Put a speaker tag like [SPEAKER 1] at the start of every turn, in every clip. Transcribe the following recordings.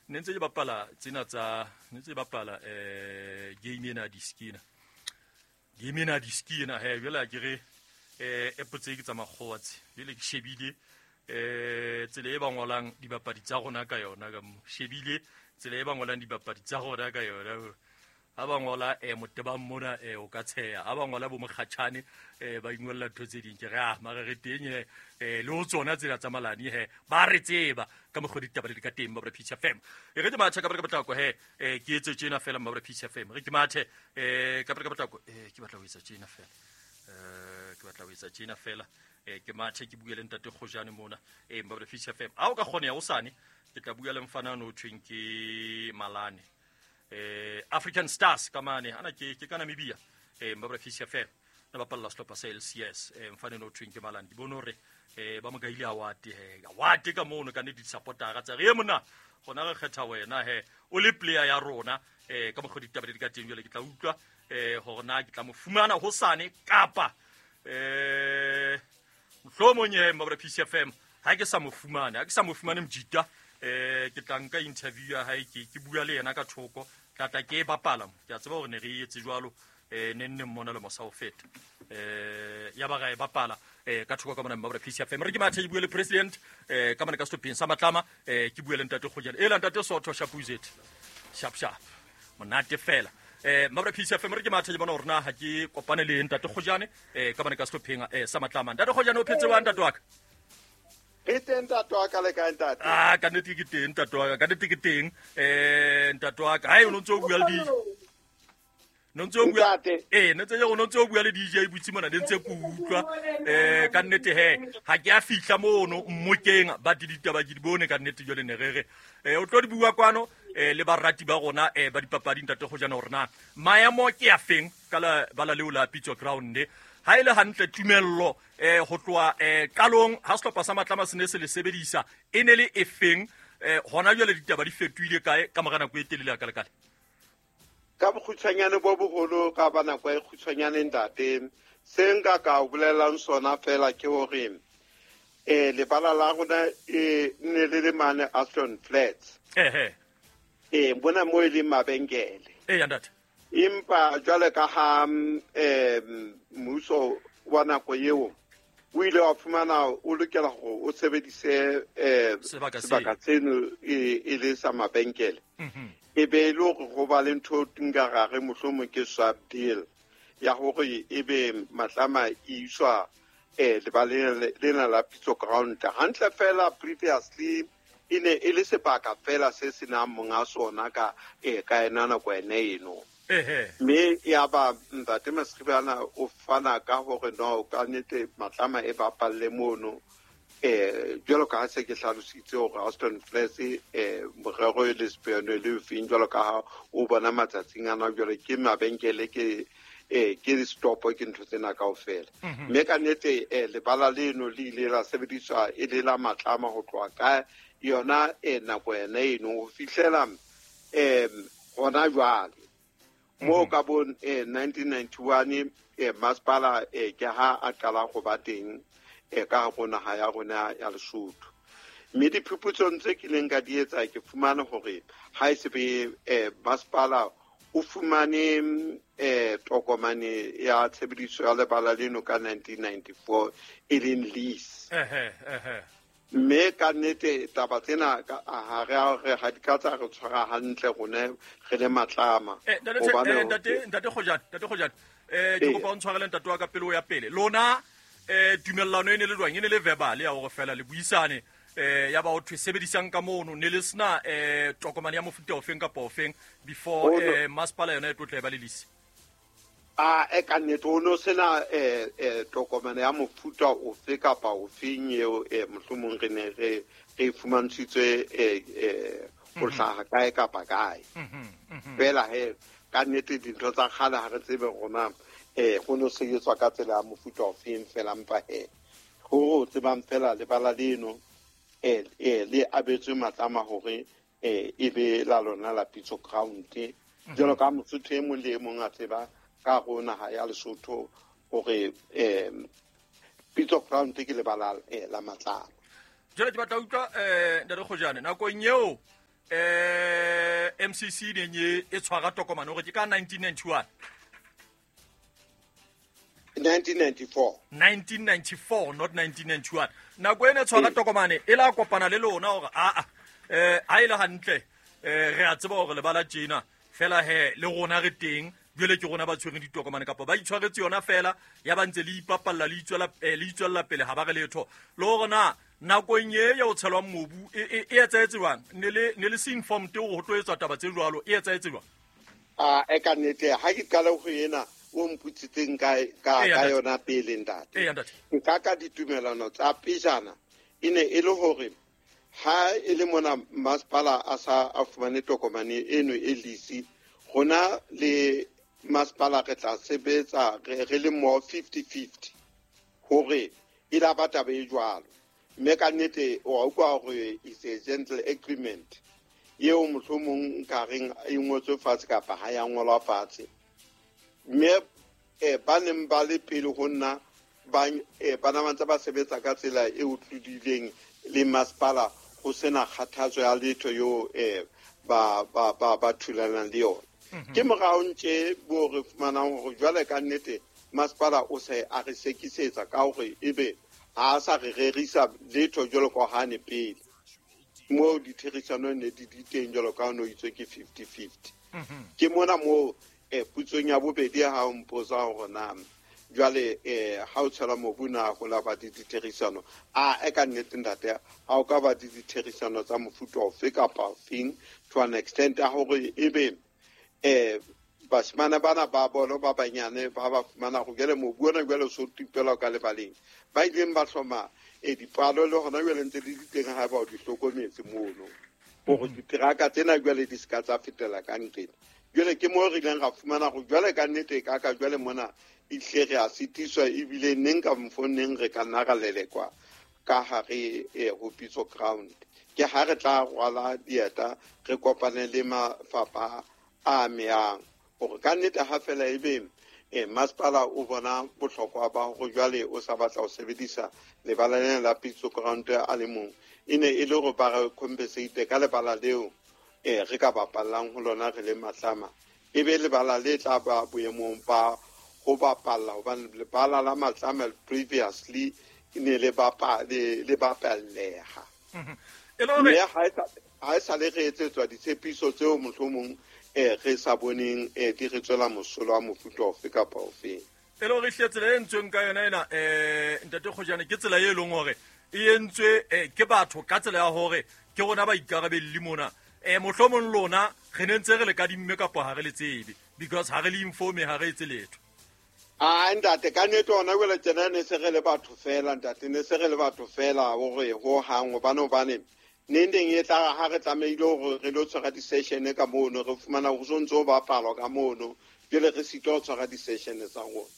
[SPEAKER 1] Ne ntse ke bapala tsena tsa ne ntse ke bapala game ena ya diski ena. Game ena ya diski ena he jwale a ke re app tse ke tsa makgowa tse. Jwale ke shebile tsela e ba ngolang dibapadi tsa rona ka yona ka mo. Shebile tsela e ba ngolang dibapadi tsa rona ka yona. Ha ba ngola Motebang mona o ka tsheha. Ha ba ngola bo Mokgatjhane ba ingolla ntho tse ding. Ke re ah mara re teng le ho tsona tsela tsa malane he ba re tseba ka mokgwa ditaba di ka teng ba Peace FM. E re ke mathe ka potlako he ke etse tjena fela mma Peace FM. Re ke mathe ka potlako ke batla ho etsa tjena fela. Ke batla ho etsa tjena fela. Ke mathe ke bue le ntate Kgojane mona mma Peace FM. Ha o ka kgoneha hosane ke tla bua le mfana no thweng ke Malane. African Stars ka mane ana ke ke ka Namibia Mbabra Fish FM na bapalla sehlopha sa LCS mfane no thweng ke Malane ke bone hore ba mo kaile award he award ka mono ka ne di supportera tsa re mona gona re kgetha wena he o le player ya rona ka mokgwa ditaba di ka teng jwale ke tla utlwa hore na ke tla mo fumana hosane kapa mohlomong he Mbabra Fish FM ha ke sa mo fumane ha ke sa mo fumane mjita ke tla nka interview ya hae ke bua le yena ka thoko tla tla ke e bapala mo ke a tseba hore ne re etse jwalo ne nne mmona le mosa o feta ya ba ra e bapala ka thoko ka mona Mbabra Peace FM re ke mathe ke bue le president ka mona ka sehlopheng sa Matlama ke bue le ntate Kgojane e la ntate Sotho Shapuzet sharp sharp monate fela Mbabra Peace FM re ke mathe ke bona hore na ha ke kopane le ntate Kgojane ka mona ka sehlopheng sa Matlama ntate Kgojane o phetse wa ntate wa ka
[SPEAKER 2] Re teng ntate wa ka le kae ntate?
[SPEAKER 1] Ah, ka nnete ke teng ntate wa ka, ka nnete ke teng. Ntate wa ka, hai o ntse o bua le di no ntse o bua ne ntse o ntse o bua le DJ butsi mona ne ntse ke utlwa ka nnete he ha ke a fihla mono mmokeng ba di ditaba ke di bone ka nnete jwale ne re re o tlo di bua kwano le barati ba rona ba dipapadi ntate Kgojane hore na maemo ke a feng ka la bala leo la Pitso Ground ha e le hantle tumello ho tloha qalong ha sehlopha sa Matlama se ne se le sebedisa e ne le efeng hona jwale ditaba di fetohile kae ka mora nako e telele ya kalekale?
[SPEAKER 2] Ka bokgutshwanyane bo boholo ka ba nako e kgutshwanyane ntate, se nka ka o bolelang sona fela ke hore lebala la rona ne le le mane Aston Flats. Bona mo e leng mabenkele.
[SPEAKER 1] Ntate.
[SPEAKER 2] Empa jwale ka ha mmuso wa nako eo o ile wa fumana o lokela hore o sebedise sebaka seno e le sa mabenkele. E be e le hore ho ba le ntho nka ra re mohlomong ke swap deal ya hore e be Matlama e iswa lebaleng lena la Pitso Ground. Hantle fela previously e ne e le sebaka fela se senang monga sona ka ka ena nako ene eno. Mme ya ba ntate Masribana o fana ka hore no ka nnete Matlama e bapalle mono jwalo ka ha se ke hlalositse hore Aston Flats morero e le sepeano le feng jwalo ka ha o bona matsatsing ana jwale ke mabenkele ke ke stop ke ntho tsena kaofela. Mme ka nnete lebala leno le ile la sebediswa e le la Matlama ho tloha ka yona nako ena eno ho fihlela hona jwale. Mo ka bo 1991 masepala ke ha a qala ho ba teng ka hare naha ya rona ya Lesotho. Mme diphuputsong tse kileng ka di etsa ke fumane hore ha e se be masepala o fumane tokomane ya tshebediso ya lebala leno ka 1994 e leng lease. Mme ka nnete taba tsena ha re a re ha di ka tsa re tshwara hantle rone re le Matlama.
[SPEAKER 1] Ntate Kgojane, ke kopa o ntshwarele ntate wa ka pele o ya pele. Lona tumellano e ne le jwang? E ne le verbal ya hore fela le buisane ya ba ho thwe sebedisang ka mono ne le sena tokomane ya mofuta ofeng kapa ofeng before masepala yona e tlo tla e ba le lease?
[SPEAKER 2] A ka nnete o no sena tokomane ya mofuta ofe kapa ofeng eo mohlomong re ne re re fumantshitswe ho hlaha kae kapa kae. Fela he ka nnete dintho tsa kgale ha re tsebe rona ho no sebetswa ka tsela ya mofuta ofeng fela mpa he ho tsebang fela lebala leno le abetswe Matlama hore e be la lona la Pitso Ground. Jwalo ka Mosotho e mong le e mong a tseba ka ho naha ya Lesotho hore Pitso Ground ke lebala la Matlama.
[SPEAKER 1] Jwale ke batla utlwa ntate Kgojane nakong eo MCC neng e tshwara tokomane hore ke ka 1991
[SPEAKER 2] 1994
[SPEAKER 1] 1994 not 1991 nako ene tshwara tokomane e la kopana le lona hore a ha ile hantle re a tseba hore lebala tjena fela he le rona re teng jwale ke rona ba tshwereng ditokomane kapa ba itshwaretse yona fela ya ba ntse le ipapalla le itswella pele ha ba re letho le hore na nakong e ya o tshelwang mobu e etsahetse jwang ne le se informed hore ho tlo etswa taba tse jwalo e etsahetse jwang?
[SPEAKER 2] A e ka nnete ha ke qala ho ena o mputsitseng ka yona pele ntate. Nka ka ditumelano tsa pejana e ne e le hore ha e le mona masepala a sa a fumane tokomane eno e lease rona le masepala re tla sebetsa re le mo 50-50 hore e la ba taba e jwalo. Mme ka nnete wa utlwa hore is a gentle agreement eo mohlomong nka reng e ngotswe fatshe kapa ha ya ngolwa fatshe. Mme ba neng ba le pele ho nna ba na ntse ba sebetsa ka tsela e utlwileng le masepala ho sena kgathatso ya letho eo ba thulanang le yona. Ke morao ntse bo re fumanang hore jwale ka nnete masepala o se a re sekisetsa ka hore ebe ha sa re rerisa letho jwalo ka hane pele mo ditherisano ne di teng jwalo ka no itswe ke 50-50. Ke mona mo putsong ya bobedi ha o mpotsa hore na jwale ha o tshela mobu na ho la ba ditherisano a e ka nnete ntate ha o ka ba ditherisano tsa mofuta ofe kapa ofeng to an extent ya hore ebe bashimane bana ba bolo ba banyane ba ba fumana go jwale mobu ona jwale so tipela ka lebaleng ba ileng ba hloma dipalo le hona jwale ntse di teng ha ba o di hlokometse mono hore diteraka tsena jwale di ska tsa fetela ka nqena. Jwale ke mo re ileng ra fumana go jwale ka nnete ka ka jwale mona ihle re a sitiswa ebile neng ka mfoneng re ka nna ra lelekwa ka hare ho Pitso ground. Ke ha re tla rwala dieta re kopane le mafapha a amehang hore ka nnete ha fela ebe masepala o bona bohlokwa ba hore jwale o sa batla ho sebedisa lebala lena la Pitso ground a le mong e ne e le hore ba re compensate ka lebala leo re ka bapallang ho lona re le Matlama e be lebala le tla ba boemong ba ho bapalla hobane lebala la Matlama previously e ne le bapalleha. Mme ha e sa le re etsetswa ditshepiso tseo mohlomong re sa boneng di re tswela mosola wa mofuta ofe kapa ofe.
[SPEAKER 1] E le hore hle tsela e entsweng ka yona ena ntate Kgojane ke tsela e leng hore e entswe ke batho ka tsela ya hore ke rona ba ikarabelli mona. Mohlomong lona re ne ntse re le kadimme kapa ha re le tsebe because ha re le informe ha re etse letho.
[SPEAKER 2] A ntate ka nnete hona jwale tjena ne se re le batho fela ntate ne se re le batho fela hore ho hang hobane neng teng e tla ha re tlamehile hore re lo tshwara di-session ka mono re fumana ho so ntso ho bapalwa ka mono jwale re sitwa ho tshwara di-session tsa rona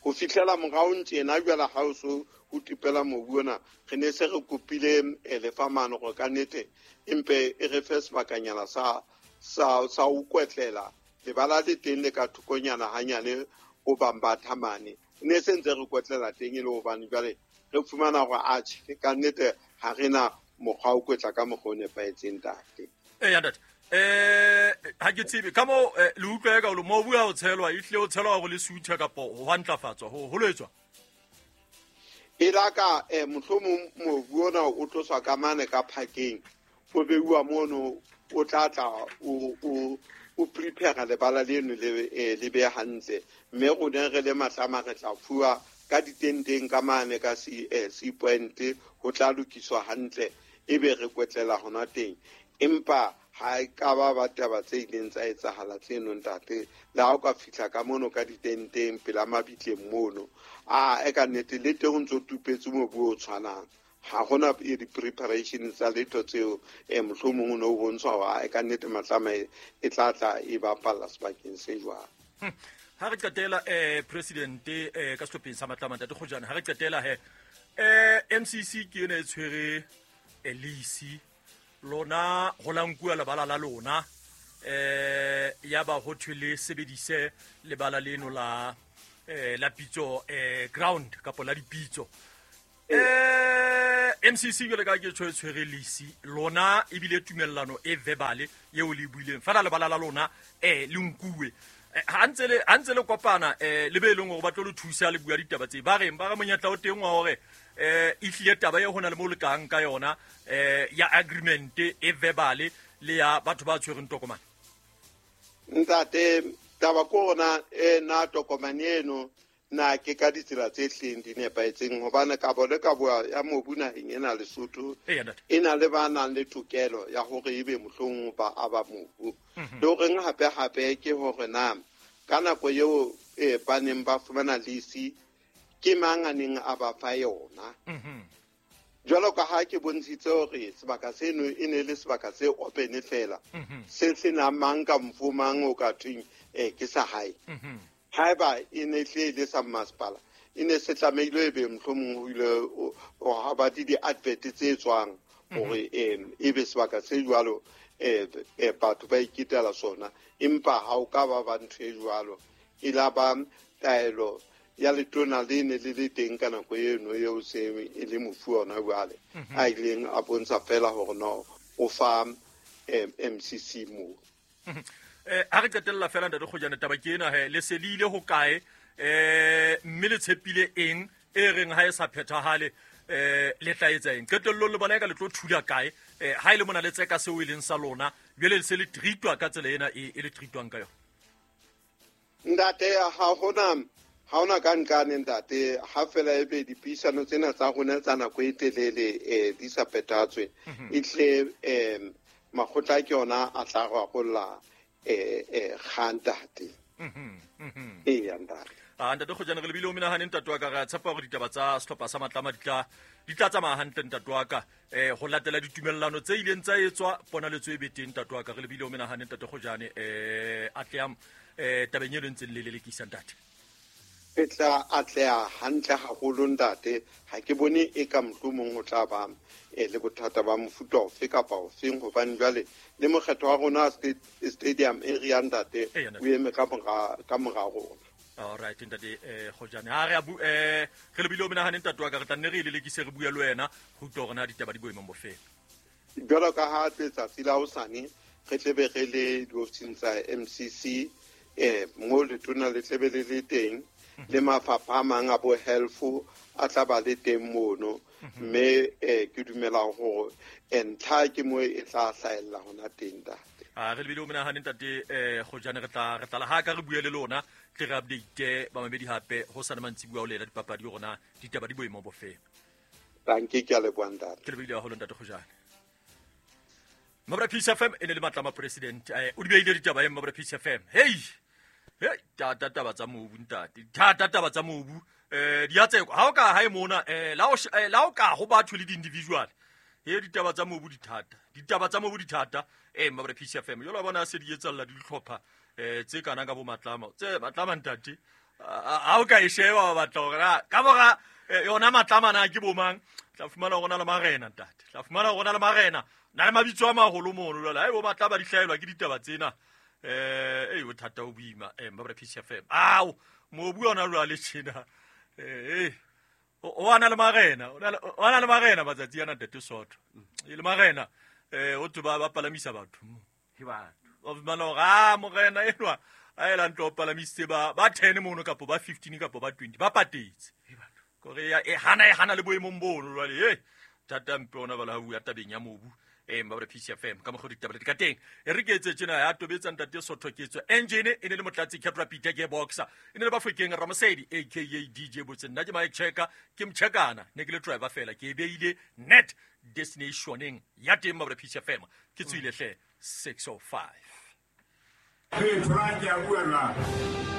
[SPEAKER 2] ho fihlela morao tjena jwale ha o so ho tipela mobu ona re ne se re kopile lefamano hore ka nnete empe e re fe sebakanyana sa ho kwetlela lebala le teng le ka thokonyana hanyane ho bambatha mane ne se ntse re kwetlela teng e le hobane jwale re fumana hore atjhe ka nnete ha re na mokgwa o kwetla ka mokgwa o nepahetseng ntate.
[SPEAKER 1] Eya ntate ha ke tsebe ka mo le utlwa ka mobu ha o tshelwa ehlile o tshelwa hore le suthe kapa ho ntlafatswa ho lo etswa
[SPEAKER 2] e la ka mohlomong mobu ona o tloswa ka mane ka phakeng o beuwa mono o tla tla o prepare lebala leno le be hantle mme rona re le Matlama re tla fuwa ka ditenteng ka mane ka C point ho tla lokiswa hantle ebe re kwetlela hona teng empa ha e ka ba taba tse ileng tsa etsahala tseno ntate le ha o ka fihla ka mono ka ditenteng pela mabitleng mono a e ka nnete le teng ho ntso tupetse mobu o tshwanang ha hona di-preparation tsa letho tseo mohlomong o ne o bontshwa hore e ka nnete Matlama e tla tla e bapalla sebakeng se jwang.
[SPEAKER 1] Ha re qetela president ka sehlopheng sa Matlama ntate Kgojane ha re qetela he MCC ke ena e tshwere lease lona ho la nkuwa lebala la lona ya ba ho thwe le sebedise lebala leno la la Pitso ground kapa la dipitso. MCC jwale ka ke tshwere tshwere lisi lona ebile tumellano e verbal eo le buileng fela lebala la lona le nkuwe ha ntse le kopana le be leng hore ba tlo le thusa le bua ditaba tse ba reng ba re monyetla o teng wa hore e hlile taba e hona le mo le kang ka yona ya agreement e verbal le ya batho ba tshwereng tokomane.
[SPEAKER 2] Ntate, taba ko rona na tokomane eno na ke ka ditsela tse hleng di nepahetseng hobane kabo le kabo ya mobu naheng ena Lesotho e na le ba nang le tokelo ya hore ebe mohlomong ba aba mobu. Le horeng hape-hape ke hore na ka nako eo ba neng ba fumana lease ke mang a neng a ba fa yona. Jwalo ka ha ke bontshitse hore sebaka seno e ne le sebaka se open fela se senang mang ka mfo mang o ka thweng ke sa hae. Haeba e ne hle le sa masepala e ne se tlamehile e be mohlomong ho ile ha ba di-advert tse tswang hore e be sebaka se jwalo batho ba iketela sona, empa ha o ka ba ba ntho e jwalo e la ba taelo ya letona le ne le le teng ka nako eno eo se e le mofu ona jwale a ileng a bontsha fela hore no o fa MCC moo.
[SPEAKER 1] Ha re qetella fela ntate Kgojane, taba ke ena he le se le ile ho kae mme le tshepile eng e reng ha e sa phethahale le tla etsa eng? Qetellong le bona e ka le tlo thula kae ha e le mona le tseka seo e leng sa lona jwale le se le treatwa ka tsela ena e le treatwang ka yona?
[SPEAKER 2] Ntate, ha hona ka nkane ntate, ha fela ebe dipuisano tsena tsa rona tsa nako e telele di sa phethatswe e tle makgotla ke yona a tla rarolla ntate. Eya ntate.
[SPEAKER 1] Ntate Kgojane, re lebile o menahane ntate wa ka, re a tshepa hore ditaba tsa sehlopha sa Matlama di tla tsamaya hantle ntate wa ka ho latela ditumellano tse ileng tsa etswa ponaletso e be teng ntate wa ka. Re lebile o menahane ntate Kgojane, atlehang tabeng eno ntseng le lelekisa ntate.
[SPEAKER 2] E tla atleha hantle haholo ntate, ha ke bone e ka mohlomong ho tla ba le bothata ba mofuta ofe kapa ofeng hobane jwale le mokgetho wa rona stadium area ntate o eme ka mora rona.
[SPEAKER 1] All right ntate Kgojane, ha re re lebile o menahane ntate wa ka, re tla nne re lelekise re bua le wena ho utlwa hore na ditaba di boemong bofeng.
[SPEAKER 2] Jwalo ka ha letsatsi la hosane re tlebe re le diofising tsa MCC mo letona le tlebe le le teng le mafapha a mang a bo health a tla ba le teng mono, mme ke dumela hore ntlha ke mo e tla hlahella hona teng ntate.
[SPEAKER 1] Re lebile o menahane ntate Kgojane, re tla ha ka re bue le lona tle re update ba mamedi hape ho sana mantsibuya o lela dipapadi rona ditaba di boemong bofeng.
[SPEAKER 2] Danke, ke a leboha ntate.
[SPEAKER 1] Ke lebile haholo ntate Kgojane. Mabra Peace FM e ne le Matlama president o di beile ditaba e Mabra Peace FM. Hey hey, tata taba tsa mobu ntate, thata taba tsa mobu di a tsekwa ha o ka hae mona la o ka ho batho le di-individual he ditaba tsa mobu di thata, ditaba tsa mobu di thata Mabra Peace FM jalo bona se di etsalla di dihlopha tse kana ka bo Matlama tse Matlama ntate ha o ka e sheba ba batla hore ka mora yona Matlama na ke bomang, tla fumana hore na le marena ntate, tla fumana hore na le marena na le mabitso a maholo mono jwale ha e bo Matlama di hlaelwa ke ditaba tsena bothata o boima Mabra Peace FM. Ao mobu ona jwale tjena o ana le marena, o ana le marena matsatsi ana ntate Sotho e le marena o tlo ba palamisa batho
[SPEAKER 3] ke batho
[SPEAKER 1] o fumana hore morena enwa a ela ntlo palamisitse ba 10 mono kapo ba 15 kapo ba 20 ba patetse kore e hana le boemong bono jwale thata mpe ona bala ha bua tabeng ya mobu Mabra Peace FM ka mokgwa ditaba di ka teng e re ke etse tjena ya tobetsa ntate Sotho ke tswe engine e ne le Motlatsi Catra Peter ke boxer e ne le Bafokeng Ramosedi aka DJ Botse nna ke Mike Checker ke mchekana ne ke le driver fela ke e beile net destinationeng ya teng Mabra Peace FM ke tswile hle 605.
[SPEAKER 4] Hey, try ke a bua.